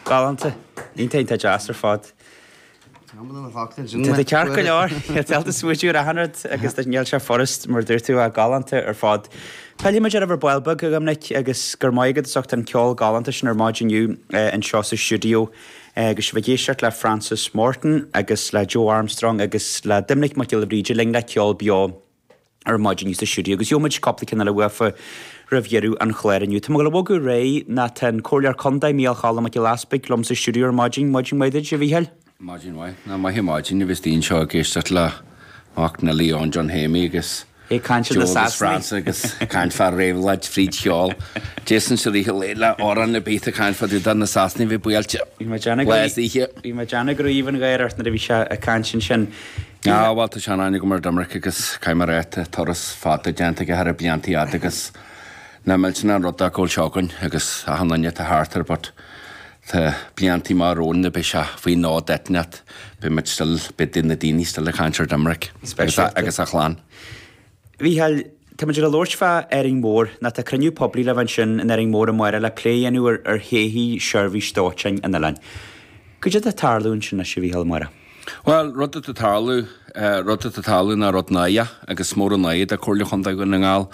Galánta. Iontach, iontach deas ar fad. Tá tú ceart go leor. Tá tú smaoitiú ar achan rud agus níl sé furast mar dúirt tú ach galánta ar fad. Pillfidh muid oraibh ar ball beag, a Dhoiminic, agus go raibh maith agat as ucht an ceol galánta sin ar maidin inniu anseo sa stiúideo agus sibh ag éisteacht le Francis Morton agus le Joe Armstrong agus le Doiminic Mac Giolla Bhríde linn le ceol beo. ar maidin inniu sa stiúideo agus gheobhaidh muid cúpla ceann eile uafa roimh dheireadh an chláir inniu. Tá mé ag dul a bhogadh ar aghaidh ná tá an Comhairleoir Contae Mícheál Cholm Mac Giolla Easpaig liom sa stiúideo ar maidin. Maidin mhaith duit, a Mhícheáil. Maidin mhaith. Nach maith an mhaidin a bheith istigh anseo ag éisteacht le mac Neilí Eoin John Shéamaí agus É ag caint ar na Joe agus Sasanaigh. Francis agus ag caint fá réabhlóid fríd cheol. Jason sa rith an lae le amhrán ar bith ag caint fá dtaobh de na Sasanaigh a bheith buailte. Bhí mé ag déanamh go Lá is oíche. Bhí mé ag déanamh go raibh aoibh an gháire ort nuair a bhí sé ag caint ansin. Ah bhuel tá sean-aithne agam ar Doiminic agus caithfidh mé a rá tá turas fada déanta aige thar na bliantaí fhada agus nach millteanach an rud é go bhfuil seo againn agus achan duine atá thart air but tá bliantaí maith romhainn beidh sé faoi nod eitneacht beidh muid still beidh na daoine still ag caint ar Doiminic agus agus a chlann. Mhícheáil, tá muid ag labhairt fá Árainn Mhór nó tá cruinniú poiblí le bheith ansin in Árainn Mhór amárach le plé a dhéanamh ar ar thodhchaí seirbhís dóiteáin an oileáin. Cad é atá ag tarlú ansin anois a Mhícheáil amárach? Bhuel, rud atá ag tarlú, rud atá ag tarlú ná rud náireach agus mór an náire do Chomhairle Chontae Dhún na nGall.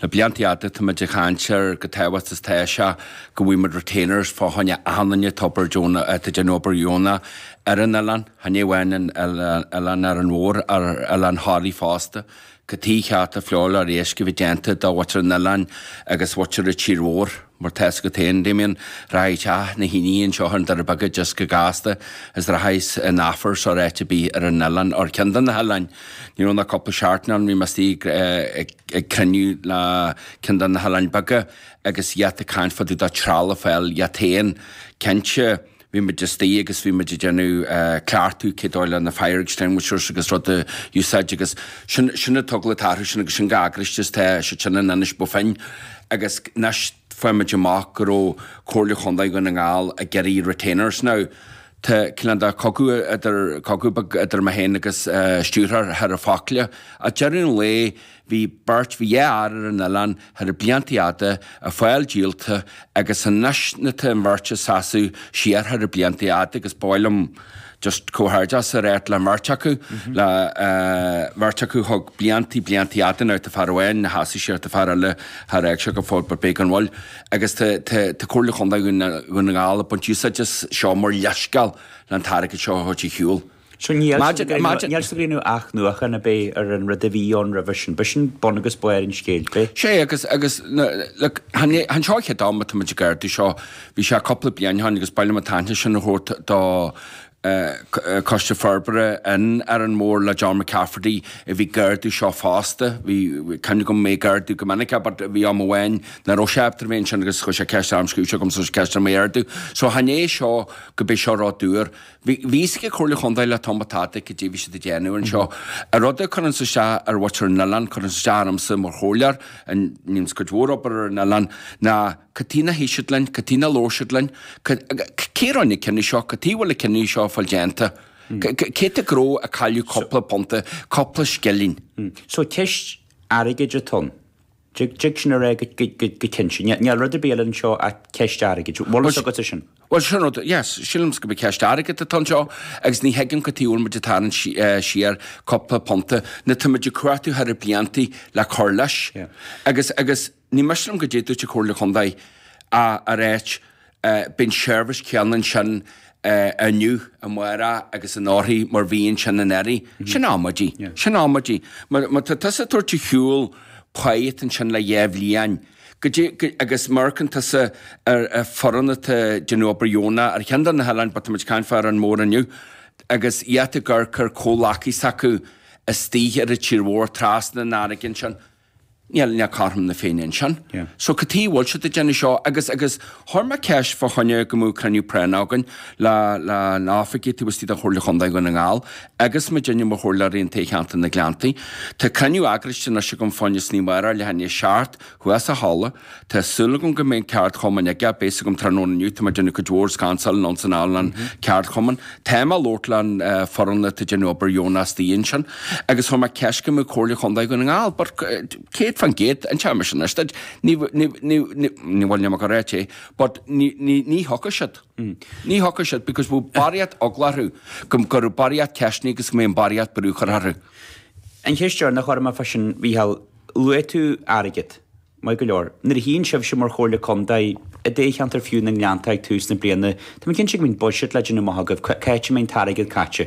Le blianta fhada tá muid ag caint ar chomh tábhachtach is atá sé go bhfaighidh muid retainers fá choinne achan duine atá obair deonach, atá ag déanamh obair dheonach ar an oileán, chan é amháin an oileán Árainn Mhór, ar oileán Thoraí fosta. Cad chuige cheart an feoil éisc a bheith déanta do mhuintir an oileáin agus mhuintir an tír mhór, mar tá fhios agat féin, Damien, rachaidh teach na haoine anseo ar an Doire Beaga just go gasta is rachaidh in Aifir or áit ar bith ar an oileán, or ceann de na hoileáin. Ní raibh ach cúpla seachtain ann, bhí mé istigh ag cruinniú le ceann de na hoileáin beaga agus iad ag caint fá dtaobh de trealamh a fháil iad féin. Cinnte, Bhí muid istigh agus bhí muid ag déanamh cleachtadh cé dóigh le na fire extinguishers agus rud a úsáid agus sin, sin an t-eagla atá orthu sin agus sin chomh heagraithe is tá siad sin in Inis Bó Finne agus anois fuair muid amach go raibh Comhairle Chontae Dhún na nGall ag iarraidh retainers now. Tá cineál de cogadh idir, cogadh beag idir mé féin agus stiúrthóir thar a focla. Ag deireadh an lae Bhí beirt, bhí dhá fhear ar an oileán thar blianta fhada, a fáil díolta agus anois na tá an bheirt ag seasamh siar thar blianta fhada agus ba mhaith liom just comhghairdeas a ráit le mbeirt acu, le bheirt acu thug bliantaí, bliantaí fhada now tá fear amháin ina sheasamh siar tá fear eile char fhág sé go fóill but beidh gan mhoill agus tá, tá, tá Comhairle Chontae Dhún na nGall ag baint úsáid as seo mar leithscéal le an t-airgead seo a thabhairt ar shiúl. So níl siad ag déanamh athnuachan ar bith ar an rud a bhí ann roimhe sin. B'shin bun agus barr an scéil, b'é? Sé, agus, agus, look, chan é, chan seo an chéad am atá muid ag ardú seo, bhí sé cúpla bliain ó shin agus ba mhaith liom an t-aithne sin a thabhairt do Coiste Forbartha in Árainn Mhór le John McCafferty a bhí ag ardú seo fosta. Bhí, cuimhne agam mé ag ardú go minic é but bhí am amháin nach raibh sé ábalta a bheith ansin agus chuir sé ceist orm, scríobh sé chugam so ceist orm é a ardú. So chan é seo go b'é seo rud úr. Bhí fhios ag Comhairle Chontae le tamall fada cad é bhí siad ag déanamh anseo. An rud a chuireanns isteach ar mhuintir an oileáin, cuireanns isteach ormsa mar chomhairleoir, a ndéananns cuid mhór obair ar an oileán, ná cad chuige nár shuigh siad linn, cad chuige nár labhair siad linn, cé a rinne an cinneadh seo, cad chuige a bhfuil an cinneadh seo ag fáil déanta, cé atá ag gnó ag cailleadh cúpla punta, cúpla scilling. So ceist airgid atá ann. Dtig sin a rá go cinnte. Níl rud ar bith eile anseo ach ceist airgid. Bhfuil fhios agat é sin? Bhuel, sin rud, yes, sílimse gurb é ceist airgid atá anseo agus ní thuigim cad chuige a bhfuil muid ag tarraingt siar cúpla punta nuair tá muid ag cuartú thar na bliantaí le cur leis. Agus, agus ní miste liom goidé dúirt an Chomhairle Chontae a a ráit Beidh an seirbhís céanna ansin inniu, amárach agus anóirthigh mar bhí ansin anuraidh. Sin amaidí. Sin amaidí. Má tá tusa ag tabhairt ar shiúl páigh atá ansin le dhá bhliain, goidé, agus má amharcann tusa ar foireann atá ag déanamh obair dheonach ar cheann de na hoileáin, but tá muid ag caint fá Árainn Mhór inniu, agus iad ag amharc ar comhleacaí s'acu istigh ar an tír mhór trasna an fharraige ansin, Níl, níl cothrom na Féinne ansin. So cad chuige a bhfuil siad ag déanamh seo? Agus, agus chuir mé ceist fá choinne go mbeadh cruinniú práinneach againn le, le na oifigigh taobh istigh de Chomhairle Chontae Dhún na nGall agus muidinne mar chomhairleoirí in toghcheantar na Gleanntaí. Tá cruinniú eagraithe anois agam fá choinne san amárach leath i ndiaidh a 7 thuas sa halla. Tá súil agam go mbeidh an ceardchumann aige, beidh fhios agam tráthnóna inniu, tá mé ag déanamh cuid mhór scansáil anonn 's anall an ceardchumann. Tá mé ag labhairt le an foireann atá ag déanamh obair dheonach istigh ansin agus chuir mé ceist go mbeadh Comhairle Chontae Dhún na nGall but cé. 100%, inseoidh mise anois duit, ní, ní, ní, ní, ní bhfuil níl mé ag rá é, but ní, ní, ní thiocfaidh siad. Ní thiocfaidh siad because bhfuil barraíocht eagla orthu, go, go raibh barraíocht ceisteanna agus go mbeidh an barraíocht brú curtha orthu. An cheist dheireanach orm fá sin, Mhícheál, luaigh tú airgead. Maith go leor. Nuair a shuíonn sibhse mar Chomhairle Contae i dtoghcheantar fiú na nGleannta ag tús na bliana, tá mé cinnte go mbíonn buiséad le déanamh amach agaibh, cá háit a mbeidh an t-airgead caite?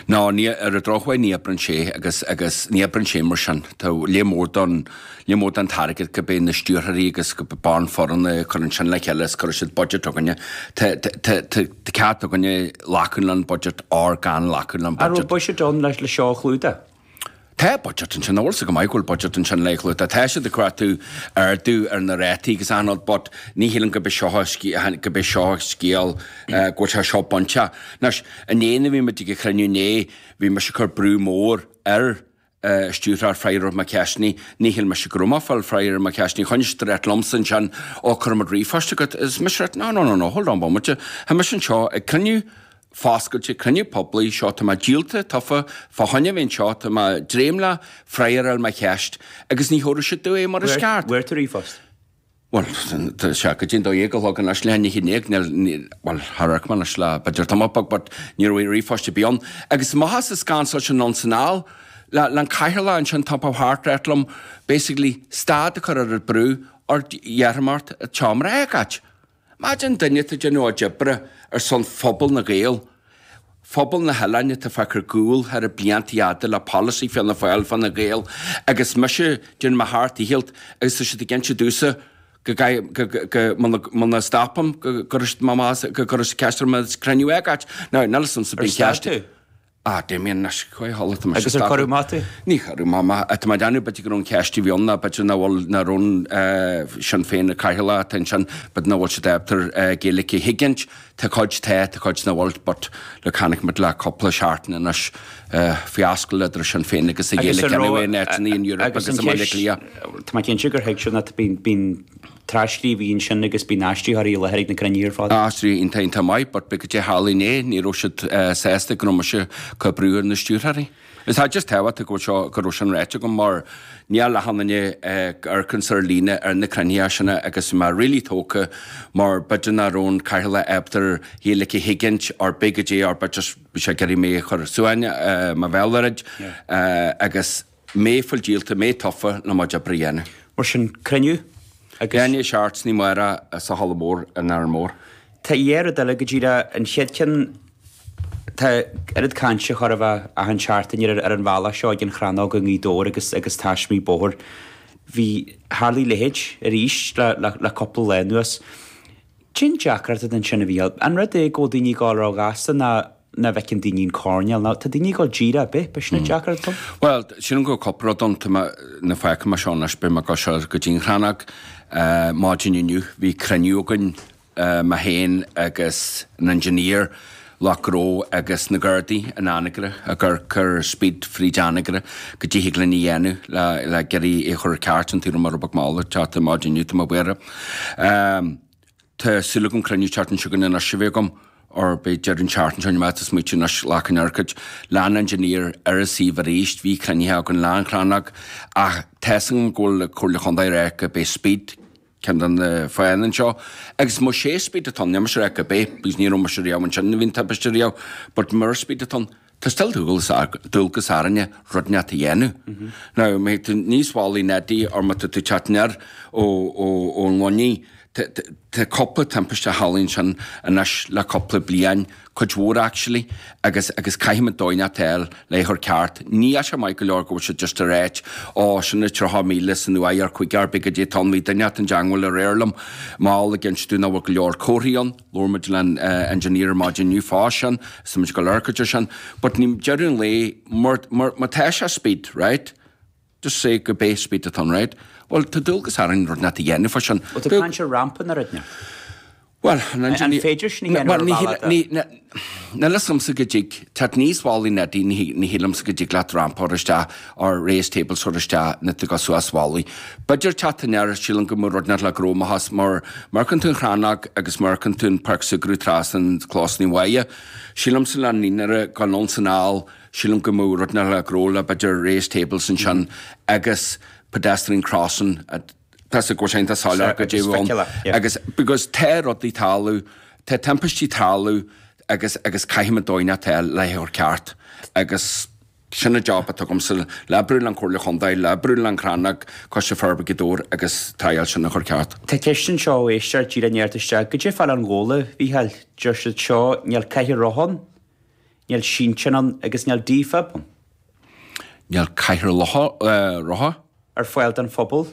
No, ní, ar an drochuair ní oibreann sé agus, agus ní oibreann sé mar sin. Tá lear mór don, lear mór den t-airgead go b'é na stiúrthóirí agus go b'é an foireann a chuireann sin le chéile is cuireann siad budget chugainne. Tá, tá, tá, tá, tá cead againne glacadh leis an budget or gan glacadh leis an An raibh budget. buiséad ann le, le seo a chlúdach? Tá budget ansin, bhfuil 's go maith go bhfuil budget ansin le clúdach. Tá siad ag cuartú ardú ar na rátaí agus achan rud but ní shílim go b'é seo go b'é seo scéal go bhfuil sé seo bainteach. Anois, inné nuair a bhí muid ag an chruinniú inné, bhí mise ag cur brú mór ar stiúrthóir freagra ar mo cheisteanna. Ní shíl mise go raibh mé ag fáil freagra ar mo cheisteanna. Choinnigh siad ag ráit liomsa ansin, ó cuirfidh muid ríomhphost chugat. Is mise ag ráit, no, no, no, no, hold on bomaite. Tá mise anseo ag cruinniú foscailte, cruinniú poiblí, seo tá mé díolta, tofa, fá choinne a bheith anseo, tá mé ag dréim le freagra ar mo cheist agus ní thabharfaidh siad domh é mar is ceart. Bhfuair tú ríomhphost? Bhuel, tá sé go dtí an dó dhéag a chlog anois, leath i ndiaidh a naoi, níl, níl, bhuel, char amharc mé anois le b'fhéidir tamall beag but ní raibh ríomhphost ar bith ann. Agus amach as an scannal sin ann san anall, le, le an cathaoirleach ansin top of heart ráit liom basically stad a chur ar an brú or iarrfaidh mé ort an tseomra a fhágáil. Imagine duine atá ag déanamh a chuid oibre ar son phobal na Gael, phobal na hoileáin atá fágtha ar gcúl thar na blianta fhada le polasaí Fianna Fáil fá na Gaeil agus mise déanamh mo sheacht ndícheall agus tá siad ag inse domhsa go go go go muna stopaim go gcuirfidh siad mé amach go gcuirfidh siad ceist orm an cruinniú a fhágáil. Now níl 'fhios a'msa Ar bíonn stad ceist tú? Ah, Damien, anois, chuaigh a chodladh, tá mise Agus ar cuireadh amach tú? Ní cuireadh mé amach. Tá mé ag déanamh, b'fhéidir go raibh an cheist a bhí ann ná b'fhéidir nach bhfuil, nach raibh an Sinn Féin ag cathaoirleach atá ansin, b'fhéidir nach bhfuil siad ábalta Gaeilge a thuigint. Tá cuid tá, tá cuid nach bhfuil, but look, chonaic muid le cúpla seachtain anois fiasco idir Sinn Féin agus an Agus Ghaeilge an raibh, anyway in áiteanna in Europe agus agus an i mBaile cheist, Átha Cliath. tá mé cinnte gur thuig siad ná bíonn, bíonn Tras-scríobhaí ansin agus bíonn aistritheoirí i láthair ag na cruinnithe ar fad. Aistritheoirí iontach iontach maith but b'fhéidir goidé tharla inné, ní raibh siad sásta go raibh mise ag cur brú ar na stiúrthóirí. Is tá just tábhachtach go bhfuil seo, go raibh sin ráite agam mar níl achan duine ag amharc ar líne ar na cruinnithe sin agus bhí mé really tógtha mar b'fhéidir nach raibh an cathaoirleach ábalta Gaeilge a thuigint or b'fhéidir goidé or b'fhéidir just bhí sé ag iarraidh mé a chur suain mo bhéal oiread agus Mé fuil díolta, mé tofa le mo chuid oibre a dhéanamh. Mar sin, cruinniú agus. Leath i ndiaidh a seacht san oíche amárach sa halla mór in Árainn Mhór. Tá dhá rud eile go díreach. An chéad cheann, tá oiread cainte chóir a bheith achan seachtain ar ar an bhealach seo ag an Chrannóg i nGaoth Dobhair agus agus taismí bóthair. Bhí, tharlaigh a leithéid arís le le le cúpla lá anuas. Cén deacracht atá ansin a Mhícheáil? An rud é go bhfuil daoine ag dul ró-ghasta ná nach bhfeiceann daoine an coirnéal nó tá daoine ag dul díreach ar bith, b'shin an deacracht atá ann? Bhuel, sílim go bhfuil cúpla rud ann. Tá mé, nuair a fágfaidh mé seo anois, beidh mé ag dul soir go dtí an Chrannóg. Maidin inniu bhí cruinniú againn, mé féin agus an engineer, lucht gnó agus na Gardaí in Anagaire ag amharc ar speed fríd Anagaire goidé thig linn a dhéanamh le le ag iarraidh é a chur ceart an taobh mar a beag mall ag teacht ar maidin inniu tá mé buartha. Tá súil agam cruinniú tseachtain seo chugainn anois a bheith agam or beidh deireadh an tseachtain seo má tá smaoitiú anois glacann oirchid leis an engineer ar an suíomh arís bhí cruinnithe againn leis an Chrannóg ach tá's agam go bhfuil Comhairle Chontae ag rá go beidh speed ceann de na fáthanna anseo agus más é speed atá ann níl mise ag rá go bé because ní raibh mise riamh ansin nuair a bhí an timpiste riamh but mura speed atá ann tá still dualgas dualgas orainne rud inteacht a dhéanamh. Now má tá tú aníos Mhullach an Eadaigh or má tá tú ag teacht aniar ó ó ón Luinnigh tá tá cúpla timpiste a tharlaíonn ansin anois le cúpla bliain cuid mhór actually agus agus caithfimid dóigh inteacht a fháil le é a chur ceart. Níl sé maith go leor go bhfuil siad just ag ráit ó sin na 30 míle san uair ar 50 ar bith goidé atá ann bhí duine inteacht i dteangmháil aréir liom mall ag inse domh nach bhfuil go leor comharthaí ann labhair muid le an engineer ar maidin inniu fá sin is tá muid ag dul amharc air sin but ní deireadh an lae mar mar má tá sé speed right just say go bé speed atá ann right bhuel tá dualgas orainn rud inteacht a dhéanamh fá sin. Bhuel tá caint ar rampa nó rud inteacht. Bhuel, an An féidir sin a dhéanamh ar bhealach de? Níl a fhios agamsa go dtig, teacht aníos Mhullach an Eadaigh, ní shílimse go dtig leat rampa a chur isteach or raised tables a chur isteach nuair tú ag dul suas Mhullach. B'fhéidir teacht aniar, sílim go mbeadh rud inteacht le gnó amach as mar má amharcann tú an Chrannóg agus má amharcann tú an Páirc Súgradh trasna an Clós Naomh Mháire, sílimse le an naíonra ag dul anonn 's anall, sílim go mbeadh rud inteacht le gnó le b'fhéidir raised tables ansin agus. pedestrian crossing tá sé go sé tá soiléir goidé a bhfuil ann agus because tá rudaí ag tarlú, tá timpistí ag tarlú agus agus caithfimid dóigh inteacht a fháil le é a chur ceart agus sin an job atá agamsa le oibriú le an Comhairle Chontae, le oibriú le an Chrannóg, Coiste Forbartha Ghaoth Dobhair agus triail sin a chur ceart. Tá ceist anseo ó éisteoir díreach i ndiaidh theacht isteach, goidé fá Oileán Ghabhla, a Mhícheáil, deir siad seo, níl cathaoir rotha ann, níl sínteán ann agus níl defib ann. Níl cathaoir rotha. ar fáil don phobal.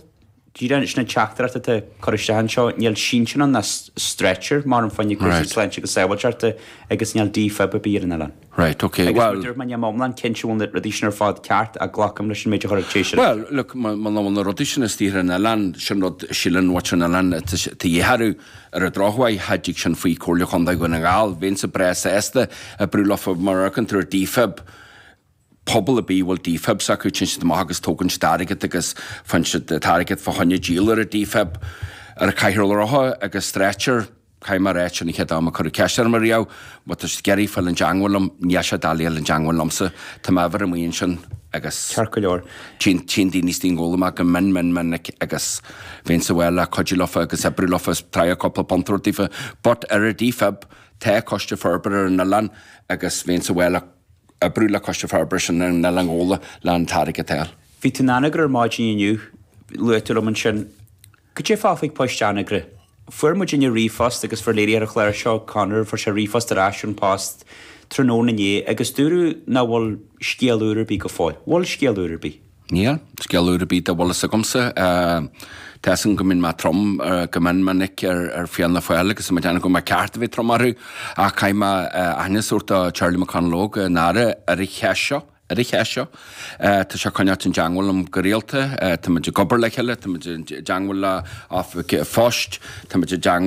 Díreach sin an teachtaireacht atá curtha isteach anseo, níl sínteán ann ná stretcher mar an fá choinne cúrsaí sláinte agus sábháilteachta agus níl defib ar bith ar an oileán. Right, ok, Agus mar a dúirt mé, níl mé iomlán cinnte an bhfuil na rudaí sin ar fad ceart ach glacaim leis an méid a chuir an té sin. Well, look, muna bhfuil na rudaí sin istigh ar an oileán, sin rud a síleann muintir an oileáin atá de dhíth orthu. Ar an drochuair, cha dtig sin faoi Comhairle Chontae Dhún na nGall. Bheinnse breá sásta oibriú leofa mar a amharcann tú ar defib, pobal ar bith a bhfuil defibs acu, téann siad amach agus tógann siad airgead agus faigheann siad an t-airgead fá choinne díol ar an defib, ar an cathaoir rotha agus stretcher, caithfidh mé a ráit, sin an chéad am a cuireadh ceist orm ariamh, má tá siad ag iarraidh fáil i dteangmháil liom, níl sé doiligh fáil i dteangmháil liomsa, tá m'uimhir amuigh ansin agus Ceart go leor. téann téann daoine istigh i nGabhla amach go mion mion minic agus bheinnse bhuel le cuidiú leofa agus oibriú leofa is triail cúpla punt a thabhairt daofa but ar an defib, tá coiste forbartha ar an oileán agus bheinnse bhuel le oibriú le Coiste Forbartha sin ar an Oileán Ghabhla le an t-airgead a fháil. Bhí tú in Anagaire ar maidin inniu, luaigh tú liom ansin. Cad é fá faoi poist Anagaire? Fuair muidinne ríomhphost agus fuair léirithe ar an chlár seo, Conor, fuair sé ríomhphost ar ais ón Post tráthnóna inné agus dúradh nach bhfuil scéal úr ar bith go fóill. Bhfuil scéal úr ar bith? Níl scéal úr ar bith dá bhfuil fhios agamsa. Tá fhios agam go mbíonn mé trom go mion minic ar Fianna Fáil agus tá mé ag déanamh go bhfuil mé ceart a bheith trom orthu ach caithfidh mé aithne a thabhairt do Charlie McConalogue an Aire ar an cheist seo, ar an cheist seo. Tá sé ag coinneáilt i dteangmháil liom go rialta, tá muid ag obair le chéile, tá muid i dteangmháil le Oifig Phoist, tá muid i dteangmháil.